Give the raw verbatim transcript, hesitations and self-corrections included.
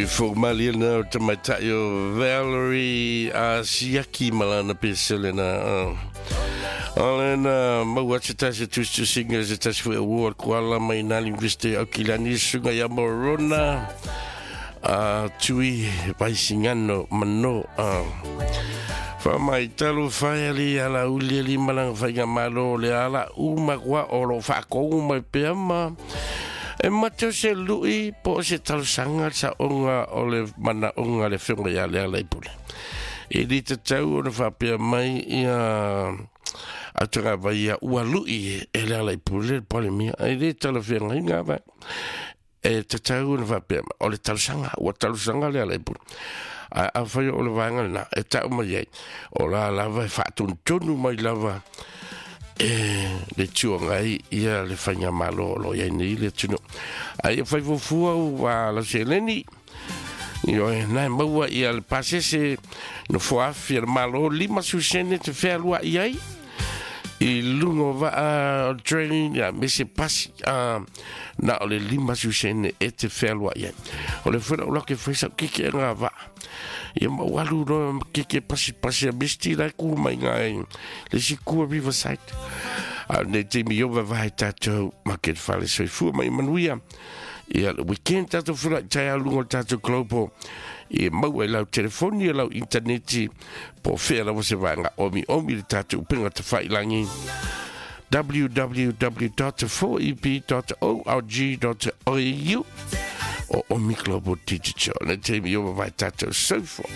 Sui mali na o tamaitai o Valerie a siaki malana pesele na o lena maua se tasi tusitusiga se tasi foi award kuala mai nā University o Kilani suga ia Morona a tui vaisingano mano a Wha talo whai ali ala uli ali malanga whainga malo le ala uma kua o lo whakongu mai pea ma e mateo se lui po o se talosanga sa onga o le mana onga le whionga ia le ala i pule. E li te tau o na whapea mai ia atanga vai ia ua lui e le ala i pule le pole mia. E li tala whionga inga vai. E te tau o na whapea mai o le talosanga, ua talosanga le ala i pule. A, a whai o le vaenga na e tau mai ai. O la lava e whaatuntunu mai lava e le tuanga ai ia le whainga malo o lo iai nei le tunu. Ai e whai fufua ua la seleni i oe nai maua ia le pasese no foafi le malo lima susene te whealua i ai i lungo waa o train ia me se pasi uh, na o le lima susene e te whealua i ai. O le whera o lake whaisa kike e ngā waa. Ia maualu no kike pasi pasi a misti lai ku mai ngā e le si kua Riverside. A nei te mi ova vai tātou maket whale soifua mai manuia. Ia le weekend tātou whira i tai alunga o tātou global. I maua i lau telefoni e lau interneti po whea lawa se vaenga omi omi le tātou upenga te whailangi w w w dot four e p dot org dot a u o Omi Global Digital. Ne te mi ova vai tātou soifua.